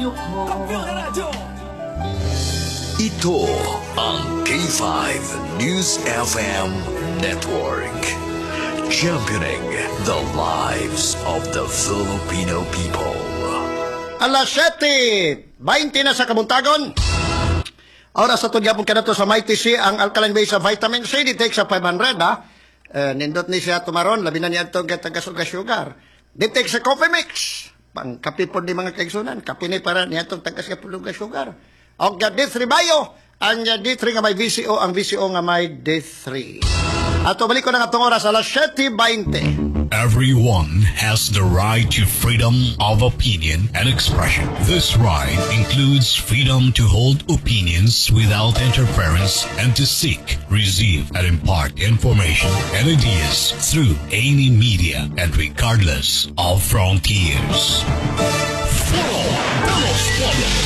Video call. Ito ang K5 News FM Network. Championing the lives of the Filipino people. Alas 7:20 na sa kabuntagon. Oras sa tugyapon kanato sa Mighty C, ang alkaline base sa vitamin C, di take sa 500, ha. Eh, nindot ni siya tumaron, labi na niya itong tagas sugar. Di take sa coffee mix. Pang kape po ni mga kaigsunan, kape ni para niya itong tagas sugar. Og D3 Bio, ang D3 nga may VCO, ang VCO nga may D3. Ato balik ko na nga itong oras, alas 7:20. Everyone has the right to freedom of opinion and expression. This right includes freedom to hold opinions without interference and to seek, receive, and impart information and ideas through any media and regardless of frontiers. Foro de los Pueblos,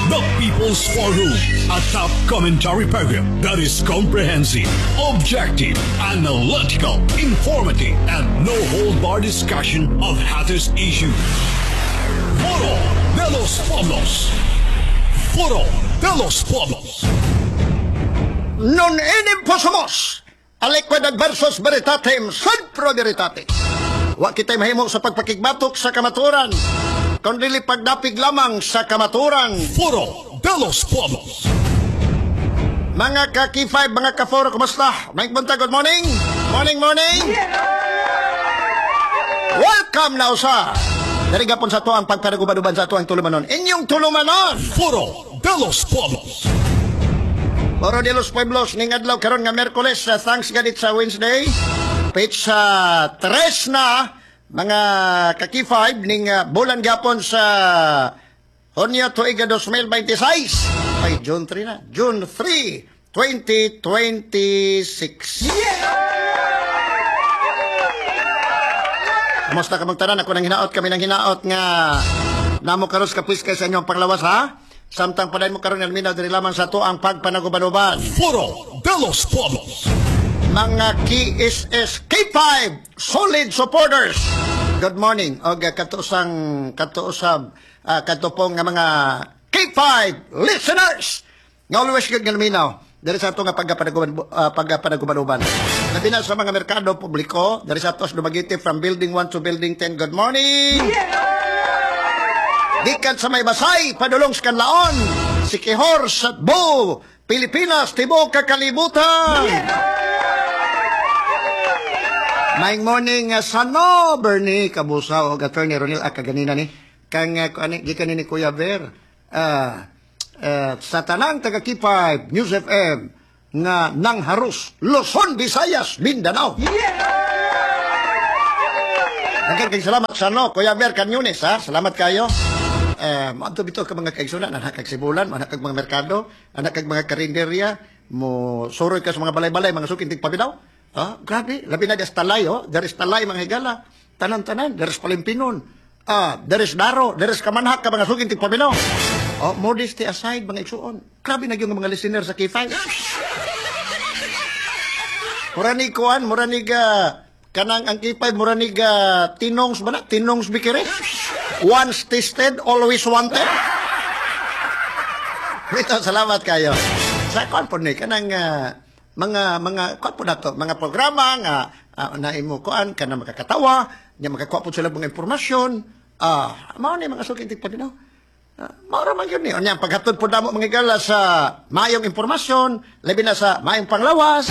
the People's Forum, a top commentary program that is comprehensive, objective, analytical, informative, and no hold bar discussion of hottest issues. Foro de los Pueblos. Foro de los Pueblos. Non enim possumus aliquid adversus veritatem sed pro veritate. Wa kita'y mahimo sa pagpakigbatok sa kamaturan, kun dili pagdapig lamang sa kamaturan. Foro de los Pueblos. Mga ka K5, mga ka-4, kumusta? Mike Bunta, good morning! Morning, morning! Welcome na usa! Dari gapon sa to ang pagpanagubanuban sa ato ang tulumanon. Inyong tulumanon! Foro de los Pueblos. Foro de los Pueblos, ning adlaw karon nga Miyerkules, sa thanks God it's a Wednesday. Petsa 3 na mga ka-K5 ning bulan gapon sa Hunyo tuig 2026. Ay, June 3 na. June 3, 2026. Kamusta ka magtanan? Ako nang hinaot, kami nang hinaot nga namo karos kapwis kay sa inyong panglawas, ha? Samtang padayon mo karon alminaw diri lamang sa to ang pagpanagubanuban. Foro de los Pueblos. Mga KSS K5 solid supporters. Good morning og katuusang katuusab katupong nga mga K5 listeners. Nga always good nga luminaw diri sa ato nga pagpanagubanuban. Labi na sa mga merkado publiko diri sa ato sa Dumaguete from building 1 to building 10. Good morning. Gikan sa may basay, padulong sa Kanlaon, Sikihor sa Bo, Pilipinas, tibuok kakalibutan. Maing morning sano Bernie Kabusaw og Attorney Ronel Akaganina ni kang kuan gikan ni Kuya Ver sa tanang taga K5 News FM nga nangharus Luzon, Visayas, Mindanao. Daghang kay salamat sa no, Kuya Ver Canyunes, ha. Salamat kayo. Moadto bitaw ka mga kaigsunan, anak kag Sibulan, anak kag mga merkado, anak kag mga karinderya, mo suroy ka sa mga balay-balay, mga suking tigpaminaw. Ah, grabe, labi na des talay, oh, there is talay mga higala. Tanan-tanan, there is Palimpinon. Ah, there is Daro, there is Kamanhak ka mga suking tigpaminaw. Oh, modesty aside mga igsuon. Grabe na yung mga listener sa K5. Mura ni kuan, mura ni ga kanang ang K5 mura ni ga tinongs ba na? Tinongs bikire. Once tasted, always wanted. Ito, salamat kayo. Sa kuan po ni kanang mga kuan po nato, mga programa nga na imo kuan kanang makakatawa, nya makakuha po sila mga impormasyon. Ah, mao ni mga suking tigpaminaw. Mao ra man gyud ni. Unya paghatod po damo mga higala sa maayong impormasyon, labi na sa maayong panglawas,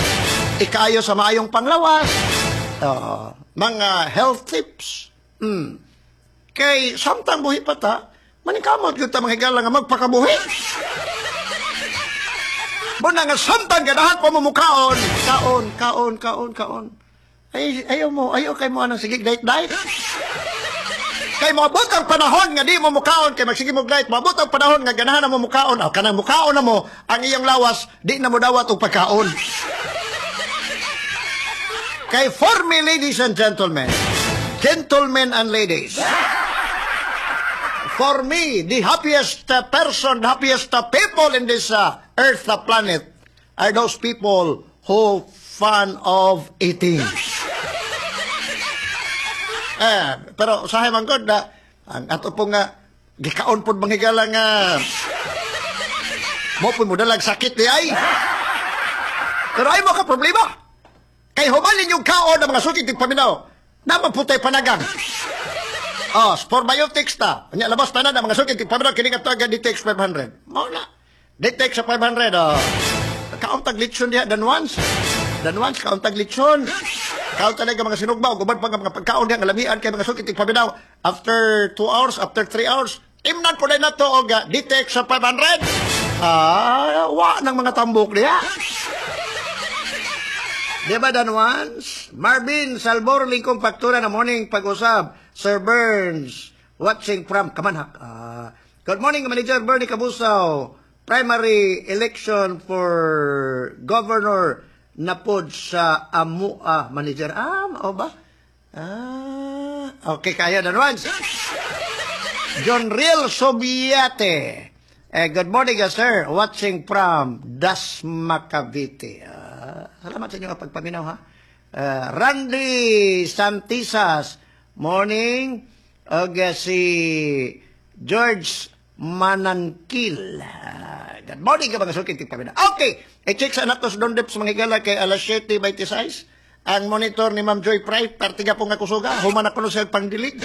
ikaayo sa maayong panglawas, mga health tips. Kay samtang buhi pa ta, maningkamot gyud ta mga higala nga magpakabuhi. Muna nga samtang ganahan pa mo mukaon, kaon, kaon, kaon, kaon. Ay, ayaw mo, ayaw kay mo anang sige diet diet. Kay moabot ang panahon nga di mo mukaon, kay magsige mo diet, moabot ang panahon nga ganahan na mo mukaon, aw kanang mukaon na mo, ang iyong lawas di na mo dawat og pagkaon. Kay for me, ladies and gentlemen, gentlemen and ladies, for me, the happiest person, the happiest people in this earth planet are those people who fun of eating. Pero usahay man gud na ang ato po nga Gikaon pod, mga higala, nga mo po mo dalag sakit di ay. Pero ay mo ka problema. Kay human inyong kaon ng mga suki tigpaminaw. Naman po tayo panagang. Oh, Sporebiotics ta. Nya labas tanan ang mga suki tigpaminaw kini nga taga DTX 500. Mao na. DTX sa 500, oh. Kaon tag litson diha than once. Than once kaon tag litson. Kaon talaga mga sinugba ug uban pa nga mga pagkaon diha nga lamian kay, mga suki tigpaminaw. After 2 hours, after 3 hours, imnan po na to og DTX sa 500. Ah, wa nang mga tambok diha. Di ba, Dan Once? Marvin Salvor, lingkong faktura na morning pag-usab. Sir Burns, watching from Kamanhak. Ah, good morning, Manager Bernie Cabusaw. Primary election for governor na pod sa Amua, Manager. Ah, mao ba? Ah, okay, kaya, Dan Once. John Riel Sobiate. Eh, good morning, sir. Watching from Dasma, Cavite. Ah, salamat sa inyo pagpaminaw, ha. Randy Santisas. Morning. Og si George Manankil. Ah, good morning ka mga suki tigpaminaw. Okay. I-check sa nato sa Don Deps, mga higala, kay alas 7:26. Ang monitor ni Ma'am Joy Pride, partiga po nga kusuga. Human ako no siya pangdilig.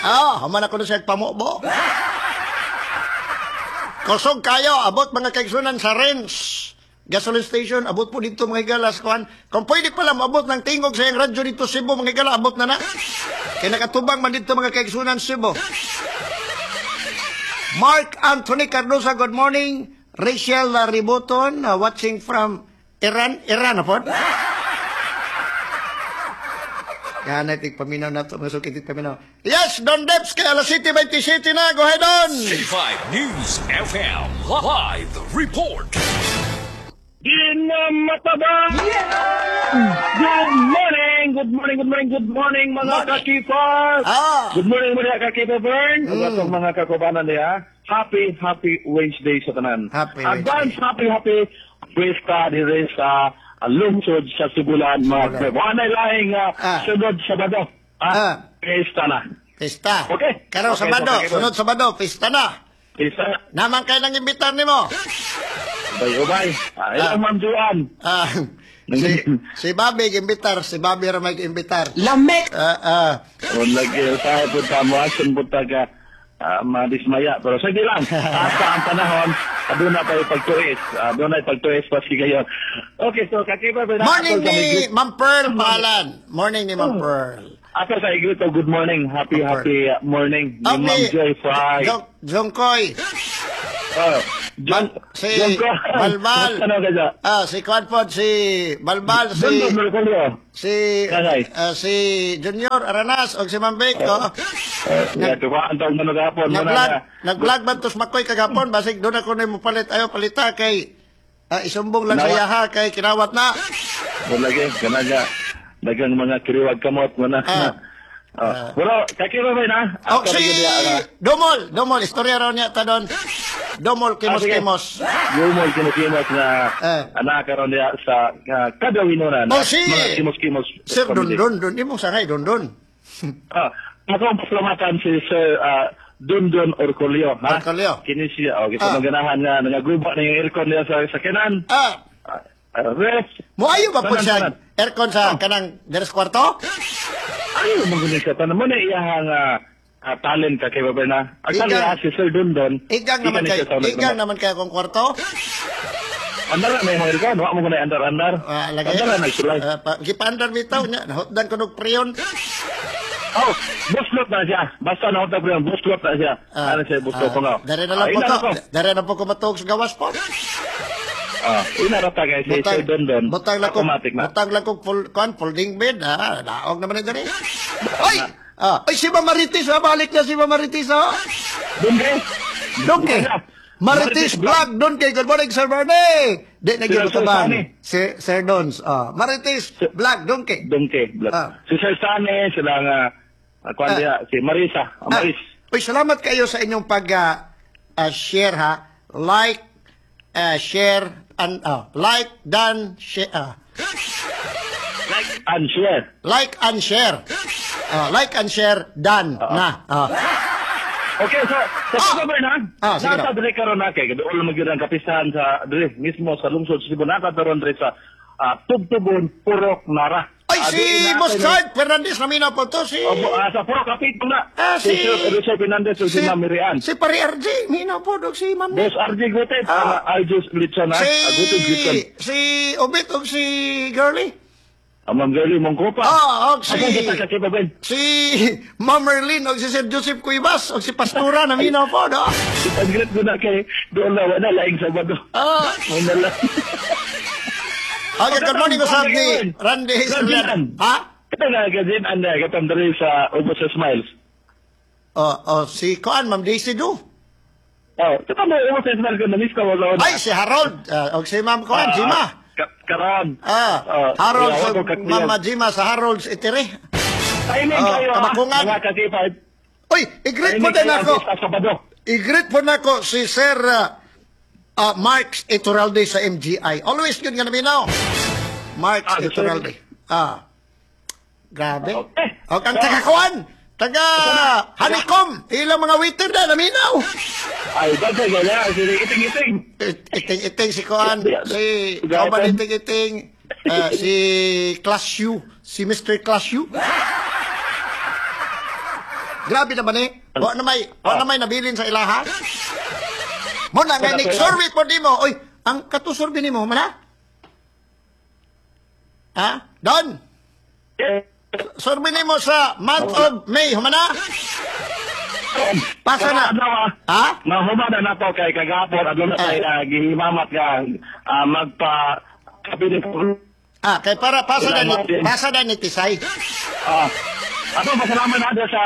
Ah, human ako no siya pamubo. Kusog kayo, abot, mga kaigsunan, sa Renz gasoline station, abot po dito, mga higala, sa kuan. Kung pwede pala maabot ng tingog sa iyang radyo dito Cebu, mga higala, abot na na. Kaya nakatubang man dito, mga kaigsunan, Cebu. Mark Anthony Cardosa, good morning. Rachel Riboton, watching from Iran. Iran, po? Yan, tig paminaw na ito, mga suki, paminaw. Yes, Don Deps, kay alas 7:27 na. Go ahead, Don! K5 News FM Live Report. Ginamataba! Good morning! Good morning, good morning, good morning, mga Morning. kakipar! Ah. Good morning, mga kakipa Bern! Ug atong mga kakubanan niya. Happy, happy Wednesday sa tanan. Happy Advance, Wednesday. Happy, happy Fiesta dire sa lungsod sa Sibulan, mga Sibulan. Wala lahing sunod Sabado. Ah, Fiesta na. Pista. Okay. Karong Okay, Sabado, okay, sunod Sabado, pista na. Fiesta na. Naman kayo nang imbitar nimo. Ubay-ubay. Ah, ilang Ma'am Joanne. Ah, si Bobby imbitar, si Bobby ra may imbitar. Lamek! Ah, ah. Kung lagi tayo punta mo, action punta ka madismaya. Pero sige lang, asa ang panahon, doon na tayo pagtuis. Doon na pagtuis pa sige gayon. Okay, so kakipa ba Morning ni Ma'am Pearl Palan. Morning ni Ma'am Pearl. Ako sa Igrito, good morning. Happy, Ma'am Pearl. Happy morning ni Ma'am Joy Fry. Jong, Jong Koy. Oh, John, Si John Koy. Balbal. Ano ka dyan? Ah, si Kwanpod, si Balbal, si Don Don Mercurio. si Kanay. Si Junior Aranas og si Ma'am Vic, oh. Yeah, tuwa ang tawag na gapon. Nag-vlog, nag-vlog man tos Makoy kagapon, basig doon ako na mo palit, ayo palita kay isumbong lang sa Kinawat. yaha kay kinawat na. Wala lagi, kanaga. Dagang mga kiriwag kamot mo na. Oh. Pero, kakiba ba na? Oh, si Domol, Domol, istorya raw niya ta doon. Domol Ah, sige. kimos kimos. Gumol kimos-kimos na anak karon niya sa kadawinunan. Oh, si Mga kimos-kimos. Sir Don committee. Don Don imo sangay Don Don. Ah, ako ang pasalamatan si Sir Dundon Orcolio. Ha? Orcolio. Kini siya. Oh, kita ganahan nga nangaguba na yung aircon niya sa kanan. Rest. Moayo ba po Tanan, siya tanan. aircon sa kanang deres kwarto? Ayaw mo guni siya. Tanan mo na iyahang talent ka kay Baba na. Actually, si Sir Dundon. Igang naman ni kay siya sa igang naman kay akong kwarto. Andar na may mga aircon. Wa mo guna andar-andar. Ah, lagi. Andar na nagsulay. Ah, gipaandar bitaw niya, nahutdan ko og preyon. Oh, buslot na siya. Basta na ko yung buslot na siya. Ah, Ano siya, buslot ko nga. Dere na lang po ina ko. ko. Dere na po ko matuog sa gawas po. Ah, ina ra ta kay si Sir Dondon. Butang lang ko, Automatic na. butang lang ko full, kuan, folding bed, ha. Daog naman ni dere. Ay! Ah, ay, si Ma'am Marites, ha. Balik na si Ma'am Marites, ha. Dongke. Dongke. Marites Vlog, Dongke. Good morning, Sir Bernie. Di na Sir gyud tabang. Sani. Si Sir Dons. Ah, Marites Vlog, Dongke. Dongke. Si Sir Sane, sila nga kuan diha, si Marisa, Maris. Uy, salamat kayo sa inyong pag share, ha. Like, share, and like, done, share. Like and share. Like and share. Oh, like and share, done na. Oh. Okay, so sa ah! Na, Ah, sige nasa na. Diri karon na kay gaduol man gyud ang kapisahan sa diri mismo sa lungsod sa Cebu, nata karon diri sa Tubtubon, Purok Nara. Ay, Ah, si di na- Boss Chard Fernandez na minaw po to. Si Opo, sa Purok Kapit na. Ah, si Sir Richard Fernandez ug si Ma'am Mirian. Si Pari RJ, minaw po dog si Ma'am. Boss RJ Gutet, Aljus Litson, ha? Si Gutet Litson. si Obit og si Girlie. Ang Ma'am Girlie Mongkopa. Ah, og si Ako kita ka Kiba Ben. si Ma'am Merlin og si Sir Joseph Cuevas og si Pastura na minaw po do. Ang great ko na kay doon na wala laing Sabado. Wala lang. Okay, good morning usab ni Randy Hazelman. Ha? Ito na gazin ang gatang diri sa Ubos sa Smiles. Oh, si Kuan, Ma'am Daisy Du. Oh, ito mo Ubos sa Smiles ko na-miss ko wala. Ay, si Harold. Og si Ma'am Kuan, Jima. Karon. Harold yawa sa ko kakliyan. Mama Jima sa Harold's Itere. Timing kayo ha, Kamakungan. mga ka-K5. Uy, i-greet po Timing din kayo ako. sa Sabado. I-greet po nako si Sir Marx Ituralde sa MGI. Always good nga naminaw. Marx Sir. Ituralde. Grabe. Okay. O, ang taga-kuan, taga Honeycomb, ilang mga waiter na naminaw. Ay, dagdag gala, sige, iting-iting. Iting-iting si Kuan, si Kauban iting-iting, si Class U, si Mr. Class U. Grabe naman eh. Wa na may nabilin sa ilaha. Mo na nga ni survey po di mo. Oy, ang katusurvey nimo man ha? Ha? Don, survey nimo sa month of May, humana? Pasa na. Adlaw, ah. Ha? Mahuma na nato kay kagapon adlaw na tayo gihimamat nga magpa kabinet. Ah, kay para pasa na ni Tisay. Ato pasalamat na sa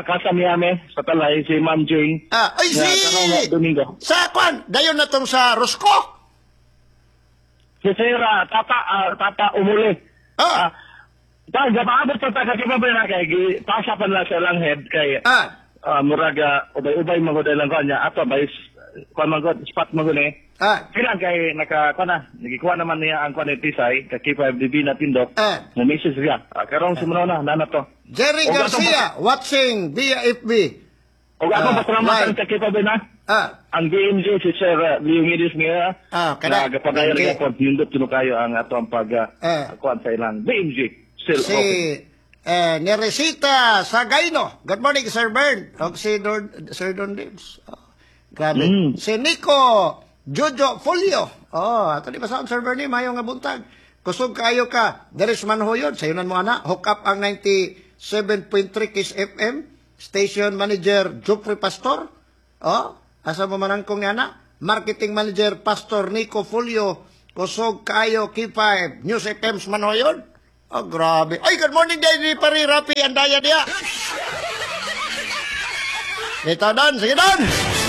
Casa Miami sa Talay si Ma'am Jane. Ah, ay Nga, si karong Domingo. Sa kwan, dayon na tong sa Rosco. Si Sir Tata Tata Umuli. Ta gapaabot sa ta kakibabay na kay pasa pa na sa lang head kay murag ubay-ubay man gud lang kanya ato bay kuan man gud spot man gud eh. Kailan kay naka kuan na nagikuha naman niya ang kuan ni Tisay ka K5DB na tindok. Mo message siya. Karong sumuna na nana to. Jerry O, Garcia watching via FB. Og ako pasalamatan live. sa K5 na. Ang BMJ si Sir Leonidas nga Kana. na gapadayon Okay. gapon nindot kuno kayo ang ato ang pag kuan sa ilang BMG still Si open. Neresita Sagaino. Good morning, Sir Bern. Og si Don, Sir Don Dibs. Oh, grabe. Si Nico Jojo Folio. Oh, ato di ba sa Sir Bernie, mayo nga buntag. Kusog kayo ka. Deres man hoyon. Sayunan mo ana. Hook up ang 97.3 Kiss FM. Station Manager Jeffrey Pastor. Oh, asa mo manangkong nga na? Marketing Manager Pastor Nico Folio. Kusog kayo K5 News FM Manhoyon. Oh, grabe. Ay, good morning, Daddy Pari Rapi Andaya diya. Ito, Don. Sige, Don.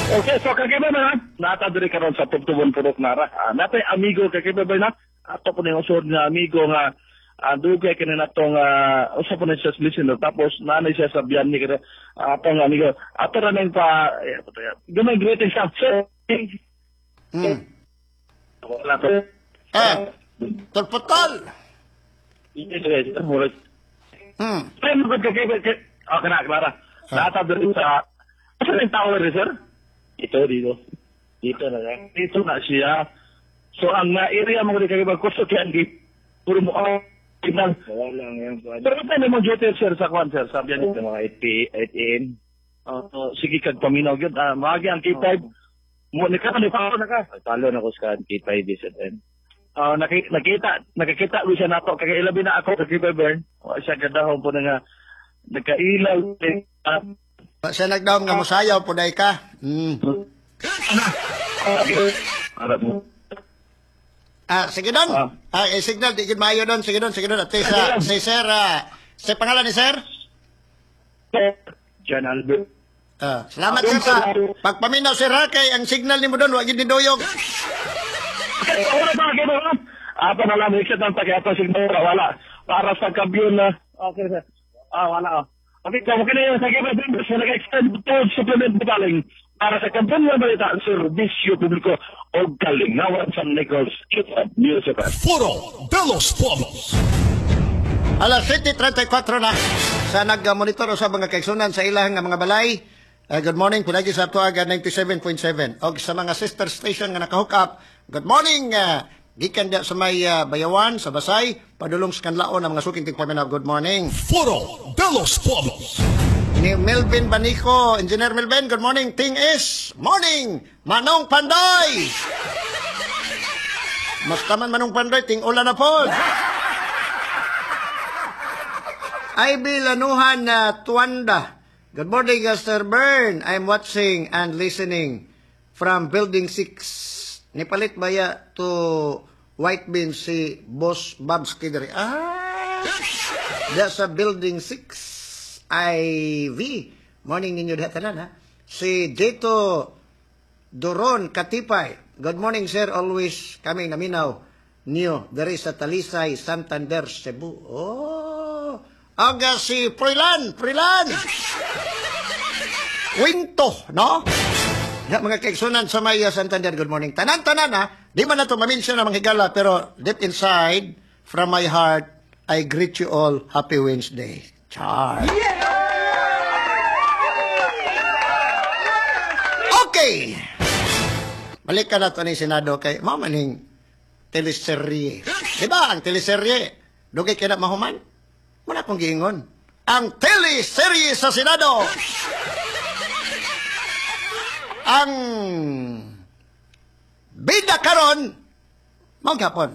Okay, so kakiba na nata diri karon sa Tubtubon Purok Nara. Natay amigo kakiba ba na? Ato po ning usod nga amigo nga dugay kini natong usa po ni siya sa listener tapos nanay siya sa biyan ni kini atong amigo. Ato ra ning pa gamay greetings sa sir. Wala to. Tulputol. Ay, magod ka kay Ah, kana Clara. Nata diri sa asa ning tower sir? Ito dito. Dito na lang. Dito na siya. So ang na area mo kay kay kusto kay ang puro mo signal. Wala lang yan. Pero kung mo duty sir sa kwan sir, sabi niya Dito mga 8 p 8 a.m. Sige kag paminaw gyud. Maagi ang K5. Mo ni ka ni pa na ka. Talo na ko sa K5 SFM. Nakikita ko siya nato kay ilabi na ako sa K5 Bern. Wa siya gadahom po na nga nagkailaw. Siya nagdaom nga musayaw po dahil ka. Para mo. Sige Don. Signal di gid maayo Don. Sige Don, sige Don. At sa si Sir sa pangalan ni Sir? John Albert. Salamat sir sa pagpaminaw sir ha kay ang signal nimo Don wa gid ni doyog. Wala ba kayo ba? Ato na lang exit ang pag-ato signal wala. Para sa kabyon na. Okay sir. Wala oh. Okay, kamo kini sa K5 sa nag-extend to supplement bitaling para sa kampanya ng balita serbisyo publiko o kalingawan sa Nichols K5 News FM. Foro de los Pueblos. Alas 7:34 na sa nag-monitor sa mga kaigsunan sa ilang nga mga balay. Good morning, pinagi sa Tuaga 97.7. Og sa mga sister station nga naka-hook up, good morning. Gikan sa may Bayawan, sa Basay, padulong sa Kanlaon ang mga suking tigpaminaw. Good morning. Foro de los Pueblos. Ni Melvin Banico, Engineer Melvin, good morning. Ting is, morning, Manong Pandoy! Mas taman Manong Pandoy, ting ulan na po. Ivy Lanuhan na Tuanda. Good morning, Sir Bern. I'm watching and listening from Building 6. Nipalit baya to white bean si Boss Babski diri. Ah! Da sa Building 6 IV. Morning ninyo diha tanan ha. Si Jito Doron Katipay. Good morning, sir. Always kami naminaw niyo diri sa Talisay, Santander, Cebu. Oh! Aga si Prilan, Prilan. Winto, no? Ya, mga kaigsunan sa may Santander, good morning. Tanan-tanan ha, di man na ito ma-mention na mga higala, pero deep inside, from my heart, I greet you all. Happy Wednesday. Char. Okay. Balik ka na ito ni Senado kay mao maning teleserye. Di ba ang teleserye? Dugay kay na mahuman? Wala akong giingon. Ang teleserye sa Senado. Ang bida karon mao gapon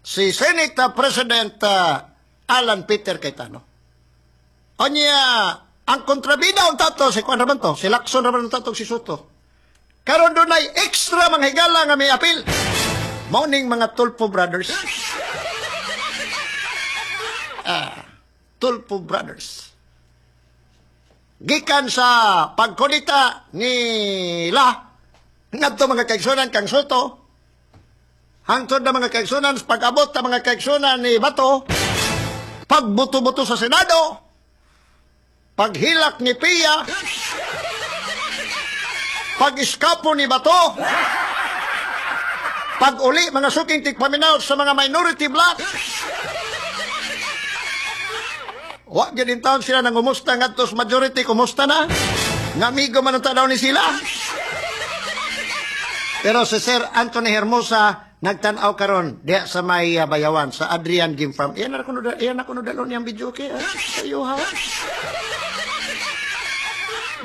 si Senate President Alan Peter Cayetano. Onya, ang kontrabida unta to si kuan ra man to, si Lacson ra man unta to si Sotto. Karon dunay extra mga higala nga may apil. Mao ning mga Tulfo Brothers. Tulfo Brothers. Gikan sa pagkolita nila ngadto mga kaigsunan kang Sotto, hangtod na mga kaigsunan sa pag-abot na mga kaigsunan ni Bato, pagbuto-buto sa Senado, paghilak ni Pia, pag-iskapo ni Bato, pag-uli mga suking tigpaminaw sa mga minority bloc. Wa gyud in taon sila nangumusta ngadto sa majority, kumusta na? Nga amigo man ang tanaw ni sila. Pero si Sir Anthony Hermosa nagtan-aw karon diha sa may Bayawan sa Adrian Game Farm. Iyan na kuno, iyan na kuno dalon niyang video kay sayo ha.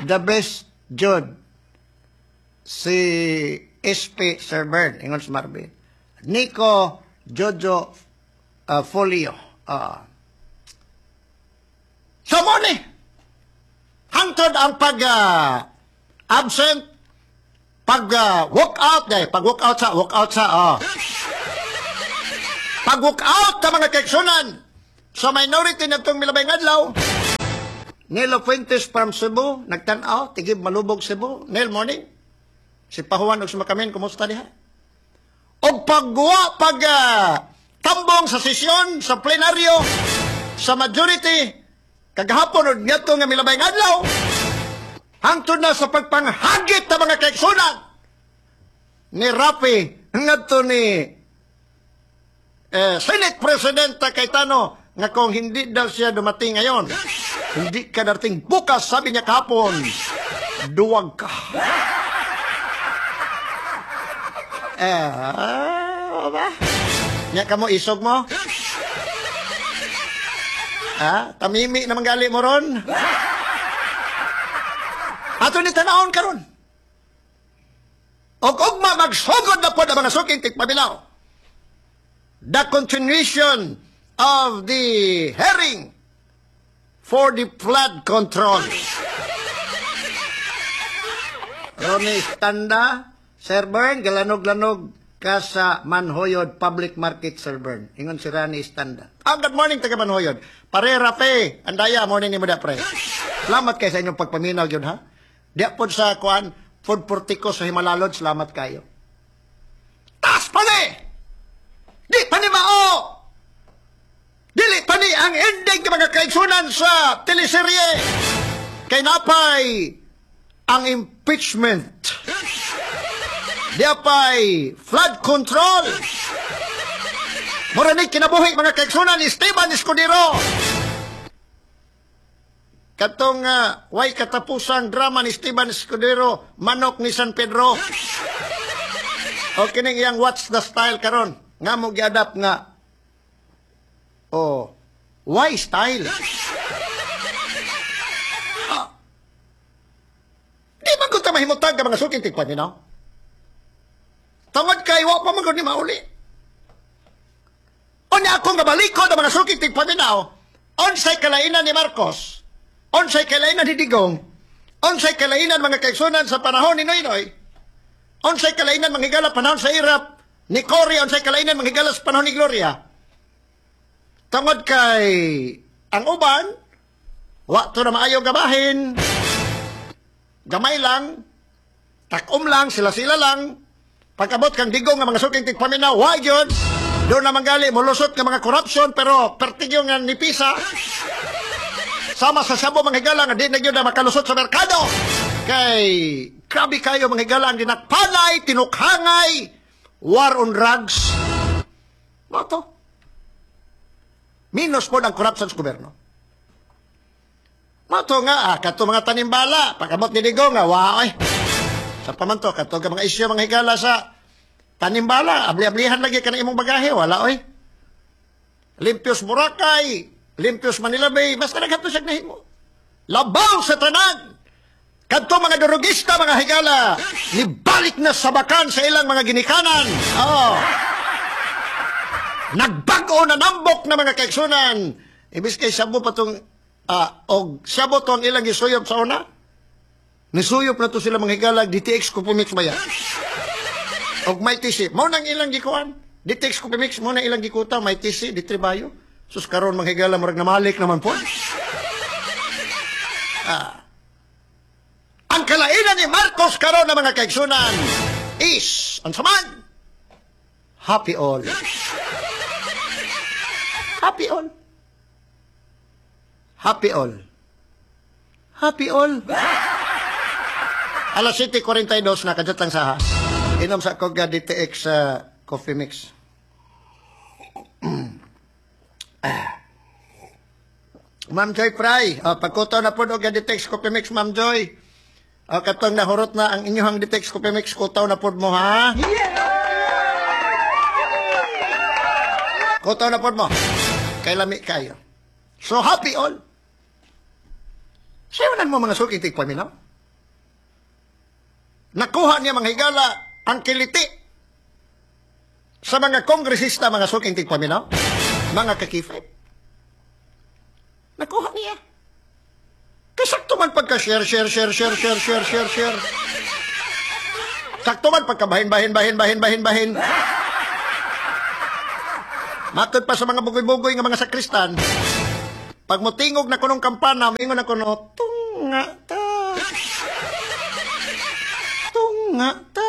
The best jud si SP Sir Bern ingon si Marvin. Nico Jojo Folio. So mo ni hangtod ang pag absent, pag walk out dai, pag walk out sa walk out sa oh. Pag walk out ta mga kaigsunan sa minority natong milabay adlaw. Nelo Fuentes from Cebu nagtan-aw tigib Malubog Cebu. Nel, morning. Si Pahuan og sumakamin, kumusta diha? Og pagguwa pag tambong sa sesyon sa plenaryo sa majority kagahapon og ngadto nga milabay adlaw, hangtod na sa pagpanghagit ta mga kaigsunan ni Rapi ngadto ni Senate President Cayetano nga kung hindi daw siya dumating ngayon, hindi ka darating bukas, sabi niya kahapon, duwag ka. Ba? Nya ka mo, isog mo? Ha? Tamimi naman gali mo ron? Ato ni tanawon karon. Og ugma magsugod na po na mga suking tigpaminaw. The continuation of the hearing for the flood control. Ronnie Standa, Sir Bern, galanog-lanog ka sa Manhoyod Public Market, Sir Bern. Ingon si Rani Standa. Ah, good morning, taga Manhoyod. Pare, Rafe, andaya, morning ni mo da, pre. Salamat kay sa inyong pagpaminaw yun, ha? Diya po sa kuan, food portico sa Himalalod, salamat kayo. Tas pa ni! Di pa ni mao! Dili pa ni ang ending ng mga kaigsunan sa teleserye! Kay napay ang impeachment. Di pa'y flood control. Mura ni kinabuhi, mga kaigsunan, ni Esteban Escudero. Katong way katapusang drama ni Esteban Escudero, Manok ni San Pedro. O kining iyang "What's the Style" karon nga mo giadapt nga, oh, why style? Ah. Di man gud ta mahimutang ka, mga suking tigpaminaw. Tungod kay wa pa man gud ni mauli. Unya ako nga balikod ang mga suking tigpaminaw, unsay kalainan ni Marcos, unsay kalainan ni Digong, unsay kalainan, mga kaigsunan, sa panahon ni Noynoy, unsay kalainan, mga higala, panahon sa Erap ni Cory, unsay kalainan, mga higala, sa panahon ni Gloria. Tungod kay ang uban, wa to na maayo gabahin, gamay lang, takom lang, sila-sila lang. Pag-abot kang Digong nga, mga suking tigpaminaw, why yun? Doon naman gali, mulusot nga mga corruption, pero pertigyo nga nipisa. Sama sa sabo, mga higala, nga di na yun na makalusot sa merkado. Kay, grabe kayo, mga higala, ang dinakpanay, tinukhangay, war on drugs. Mao to. Minus po ng corruption sa gobyerno. Mao to nga, kato mga tanimbala, pag-abot ni Digong nga, wow, ay. Sa pamanto, kato nga mga isyu, mga higala, sa tanimbala, abli-ablihan lagi ka ng imong bagahe, wala, oy. Limpios Boracay, limpios Manila Bay, basta naghato siya nahimo. Labaw sa tanan! Kadto mga durugista, mga higala, nibalik na sa bakan sa ilang mga ginikanan. Oh. Nagbag-o na nambok na, mga kaigsunan. Ibis kay sabo pa tong, og sabo to ang ilang gisuyop sa una. Nisuyop na to sila, mga higala, DTX Coffee Mix ba yan? Og may tisi. Mao nang ilang gikuan. DTX Coffee Mix, mao nang ilang gikuta, may tisi, di tribayo. Sus, karon, mga higala, murag namalik naman po. Ah. Ang kalainan ni Marcos karon na, mga kaigsunan, is, ang saman, happy all. Happy all. Happy all. Happy all. Alas 7:42 na, kadyot lang sa ha. Inom sa Koga DTX Coffee Mix. Ah. Ma'am Joy Fry, oh, pagkutaw na po og DTX Coffee Mix, Ma'am Joy. Oh, katong nahurot na ang inyong DTX Coffee Mix, kutaw na pod mo, ha? Kutaw na pod mo. Kay lami kayo. So happy all. Sayonan mo, mga suking tigpaminaw. Nakuha niya, mga higala, ang kiliti sa mga kongresista, mga suking tigpaminaw, mga kakifay. Nakuha niya. Kasakto man pagka share, share, share, share, share, share, share, share. Sakto man pagka bahin, bahin, bahin, bahin, bahin, bahin. Matod pa sa mga bugoy-bugoy nga mga sakristan, pag motingog na kunong kampana, mingon na kuno, "Tunga ta. Tunga ta."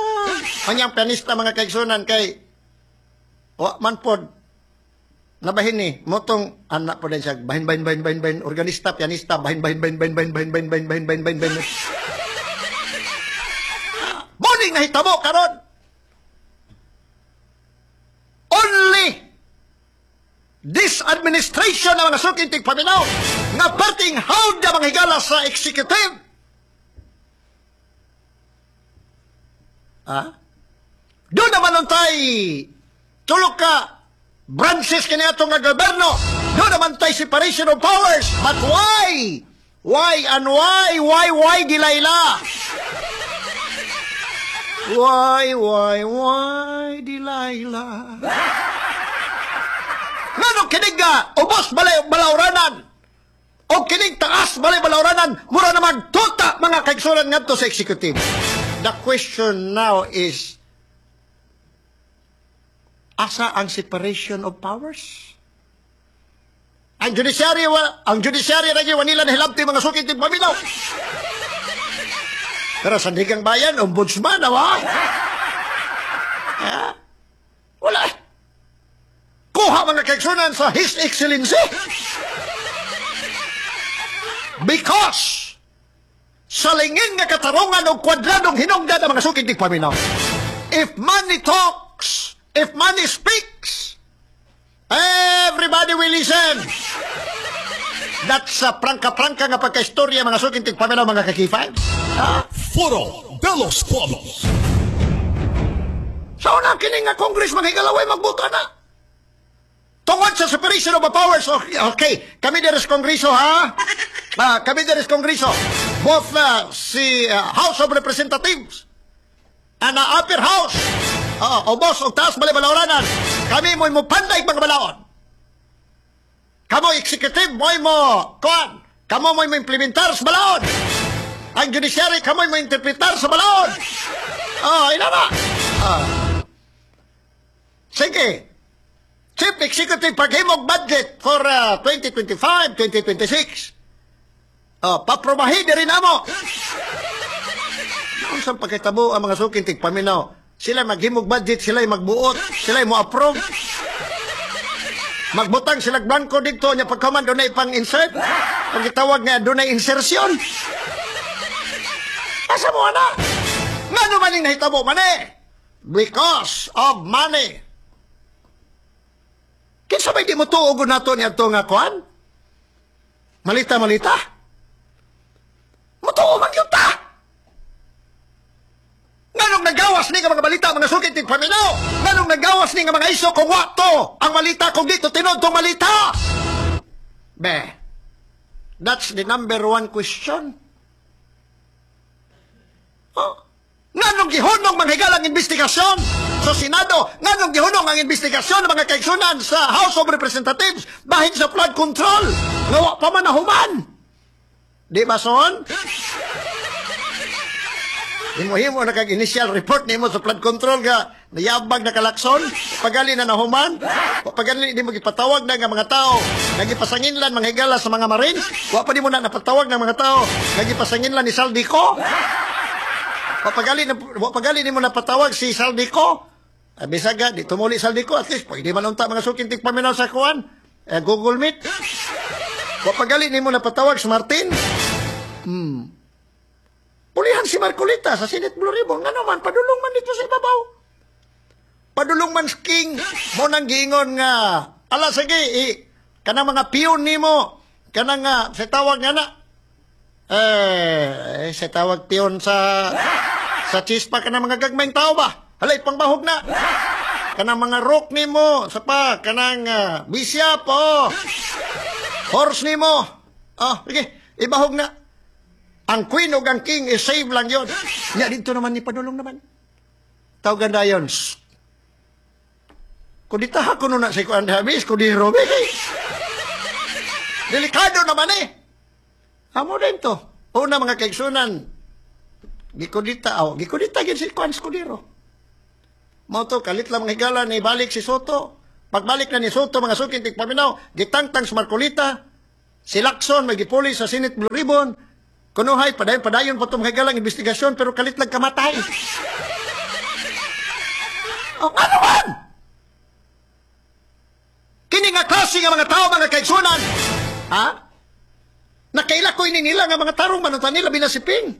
Kanyang pianista, mga kaigsunan, kay wa man pod nabahin ni motong anak po din siya bahin bahin bahin bahin bahin, organista, pianista, bahin bahin bahin bahin bahin bahin bahin bahin bahin bahin bahin bahin. Morning nahitabo karon, only this administration na, mga suking tigpaminaw, nga perting hawd na, mga higala, sa executive. Ah? Doon naman untay tulok ka branches kini ato nga gobyerno. Doon naman tay separation of powers. But why? Why and why, Delilah? Why, Delilah? Ngano kinig nga ubos balay balauranan o kinig taas balay balauranan, mura naman tuta, mga kaigsunan, ngadto sa executive? The question now is, asa ang separation of powers? Ang judiciary, ang judiciary lagi wanila nahilabti, mga suking tigpaminaw. Pero sa Sandigang Bayan, ombudsman, awa? Yeah. Wala. Kuha, mga kaigsunan, sa His Excellency. Because sa lingin nga katarungan o kwadradong hinungdan ang mga suking tigpaminaw. If money talks, if money speaks, Everybody will listen. That's sa prangka-prangka nga pagka-istorya, mga suking tigpaminaw, mga ka-K5. Ha? Foro de los Pueblos. Sa una, kini nga Congress, mga higala, way magbuto na. Tungod sa separation of powers, okay, kami diri sa Kongreso, ha? Ah, kami diri sa Kongreso. Both si House of Representatives and upper house. O boss, og taas balay balaoranan. Kami mo'y mo panday mga balaod. Kamo executive mo'y mo kuan. Kamo mo'y mo implementar sa balaod. Ang judiciary, kamo mo interpretar sa balaod. Ah, ina na. Ah. Sige. Chief Executive, paghimog budget for 2025, 2026. Oh, paprobahin rin amo. Unsang pagkatabo ang mga suking tigpaminaw? Sila maghimog budget, sila magbuot, sila mo approve. Magbutang sila bangko dito nya, pagkaman dunay pang insert. Pagitawag nga dunay insertion. Asa mo ana? Ngano man ning nahitabo man eh? Because of money. Kinsa may di mo tuog nato ni adto nga kuan? Malita malita. Mutuo man gyud ta. Nganong nagawas ni nga mga balita, mga suking tigpaminaw? Nganong nagawas ni nga mga iso kung wa to ang malita, kung dito tinuod tong malita? Be, that's the number one question. Oh. Nganong gihunong mga higala ang investigasyon sa Senado? Nganong gihunong ang investigasyon ng mga kaigsunan sa House of Representatives bahin sa flood control? Nga wa pa man nahuman. Di ba, son? Himo-himo na kag initial report nimo sa flood control nga nayabag na ka Lacson, pagali na nahuman, pagali di mo gipatawag na nga mga tao nga gipasanginlan, mga higala, sa mga Marines, wa pa nimo na napatawag ng mga tao nga gipasanginlan ni Zaldy Co. Wa pagali nimo napatawag si Zaldy Co. Bisag ga, di tumuli Zaldy Co, at least pwede man unta, mga suking tigpaminaw, sa kuan, eh, Google Meet. Wa pagali nimo napatawag si Martin. Pulihan si Marcoleta sa Senate Blue Ribbon. Nga naman, padulong man dito sa ibabaw. Padulong man King. Mo nang giingon nga, ala sige, kanang mga pion nimo, kanang nga, sa tawag nga na, eh, sa tawag pion sa chispa, kanang mga gagmayng tao ba? Halay, pangbahog na. Kanang mga rook nimo, sa pa, kanang bishop, oh. Horse nimo. Oh, sige, ibahog na. Ang queen o ang king is save lang yon. Nya dito naman ni padulong naman. Tawagan na yun. Shh. Kuditaha ko na si Kuan Habis, kudi Robe. Delikado naman eh. Amo din to. Una, mga kaigsunan, gikudita, oh, gikudita gid si Kuan Escudero. Mao to, kalit lang, mga higala, ni balik si Sotto. Pagbalik na ni Sotto, mga suking tigpaminaw, gitangtang si Marcoleta, si Lacson, may gipuli sa Senate Blue Ribbon. Kunuhay, padayon, padayon pa itong mga higalang investigasyon, pero kalit lang kamatay. Oh, ano man? Kini nga klase nga mga tao, mga kaigsunan, ha? Nakaila ko ini nila nga mga tarong manuntan nila binasiping.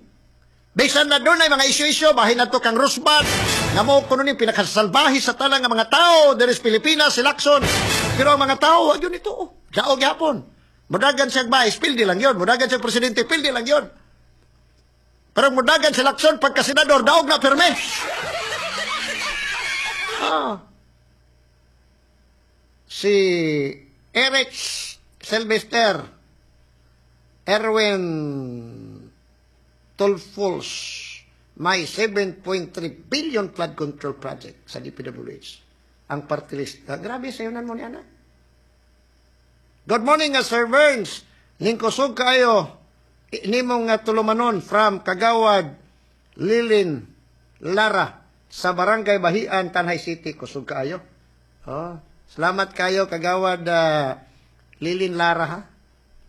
Bisan na doon ay mga isyu-isyu, bahin na to kang Rosmar, nga mo kuno ni pinakasalbahe sa talang nga mga tao diri sa Pilipinas, si Lacson. Pero ang mga tao, wag yun ito. Oh. Daog gyapon. Mudagan siya vice, pildi lang yun. Mudagan siya presidente, pildi lang yun. Pero mudagan si Lacson pagka senador, daog na pirme. Ah. Si Eric Sylvester Erwin Tulfos may 7.3 billion flood control project sa DPWH. Ang party list. Ah, grabe sa yunan mo ni anak. Good morning, Sir Burns. Ningkusog kayo. Nimong nga tulumanon from Kagawad, Lilin, Lara, sa Barangay Bahian, Tanay City. Kusog kayo. Oh, salamat kayo, Kagawad Lilin Lara, ha.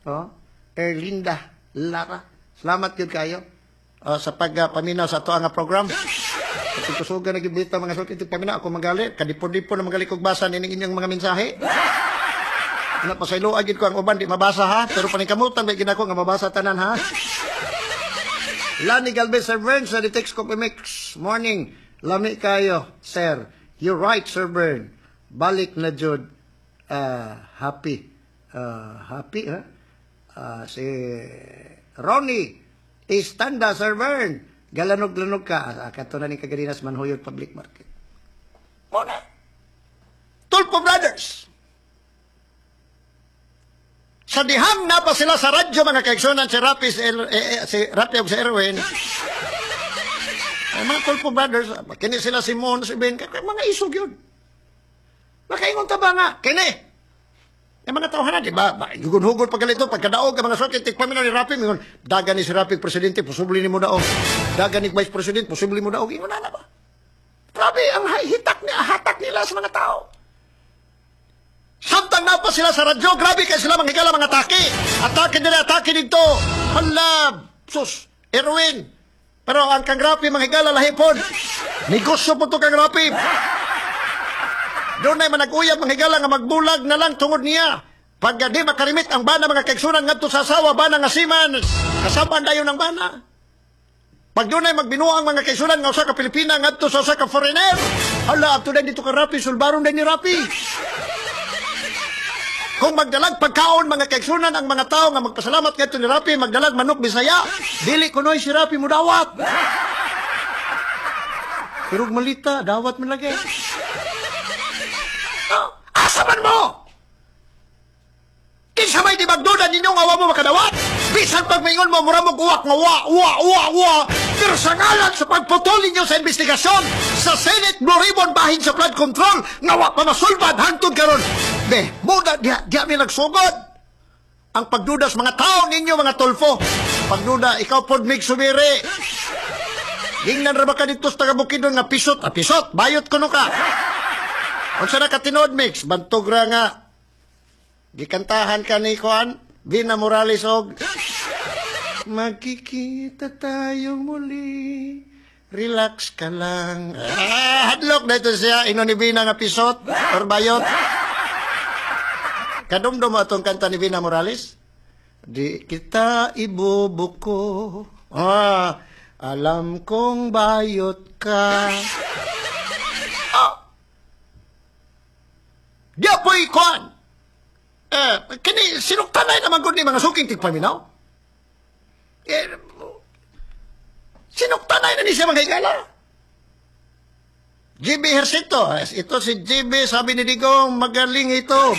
Oh, Erlinda Lara. Salamat yun kayo. Oh, sa pagpaminaw sa ato nga program. Sa kusugan na gibita, mga suki paminaw ako magali. Kadipon-dipon na magali kog basa nining inyong mga mensahe. Ano pa sa gid ko ang uban di mabasa ha, pero paningkamutan ba ginako nga mabasa tanan ha. Lani Galvez, Sir Bern, sa Ditex Coffee Mix. Morning. Lami kayo, sir. You're right, Sir Bern. Balik na jud. Happy. Happy, ha? Si Ronnie Istanda, Sir Bern. Galanog-lanog ka. Kato na ni Kagarinas Manhuyod Public Market. Muna. Tulfo Brothers. Sa dihang na pa sila sa radyo, mga kaigsunan, si Rapi, si Rapi ug si Erwin. Ay, mga Tulfo Brothers, kini sila si Mon, si Ben, mga isog yun. Makaingon ta ba nga? Kini! Yung mga tawhana, di ba? Hugon-hugon pa ganito, pagkadaog, ang mga suki, tikpamin ni Rapi, mingon, dagan ni si Rapi, presidente, posible ni mo daog. Dagan ni vice president, posible mo daog. Ingon na ba? Grabe, ang hitak ni, hatak nila sa mga tao. Samtang na pa sila sa radyo, grabe kay sila manghigala mga atake. Atake nila, atake dito. Hala, sus, Erwin. Pero ang kang Rapi manghigala lahipon. Negosyo po to kang Rapi. Doon ay manag-uyab manghigala nga magbulag na lang tungod niya. Pag di makarimit ang bana, mga kaigsunan, ngadto sa asawa, bana nga seaman, kasaban dayon ang bana. Pag doon ay magbinuang, mga kaigsunan, nga usa ka Pilipina ngadto sa usa ka foreigner, hala, adto dito ka Rapi, sulbaron din ni Rapi. Kung magdalag pagkaon, mga kaigsunan, ang mga tao nga magpasalamat ngadto ni Rapi, magdalag manok Bisaya, dili kunoy si Rapi mudawat. Pero malita, dawat man lagi. Oh, asa man mo? Kinsa may di magduda ninyo nga wa mo makadawat? Bisan pag maingon mo, mura mo uwak nga wa, wa, wa, wa. Pero sa ngalan sa pagputol ninyo sa investigasyon sa Senate Blue Ribbon bahin sa flood control, nga wa pa masulbad hangtod karon. Be, muda diha, diha mi nagsugod. Ang pagduda sa mga tao ninyo, mga Tulfo. Pagduda, ikaw pod mig sumiri. Gingnan ra ba ka dito sa taga Bukidnon nga pisot? Ah, pisot, bayot kuno ka. Unsa na ka tinuod, Mix? Bantog ra nga gikantahan ka ni Kuan, Vina Morales og "Magkikita tayong muli. Relax ka lang." Ah, hadlok na ito siya. Ino ni Vina nga pisot or bayot. Kadumdum mo atong kanta ni Vina Morales? "Di kita ibubuko. Ah, alam kong bayot ka." Ah. Di po'y kuan. Eh, kini sinuktanay naman gud ni mga suking tigpaminaw. Eh, sinuktanay na ni siya, mga higala. GB Hercito, eh, ito si GB, sabi ni Digong, magaling ito.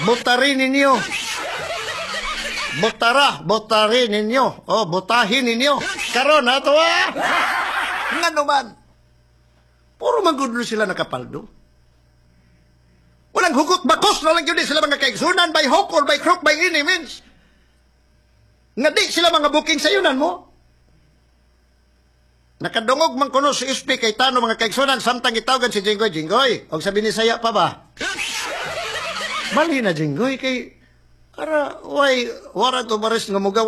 Botarin ninyo. Botara, botarin ninyo. Oh, botahin ninyo. Karon ha, to ah. Nga naman. Puro magudlo sila nakapaldo. Walang hugot, bakos na lang yun sila, mga kaigsunan, by hook or by crook, by any means. Nga di sila mga booking sa yunan mo. Nakadungog man kuno si SP Cayetano, mga kaigsunan, samtang gitawagan si Jinggoy, "Jinggoy, og sa Binisaya pa ba?" Mali na, Jinggoy, kay ara way warrant of arrest nga mugawas.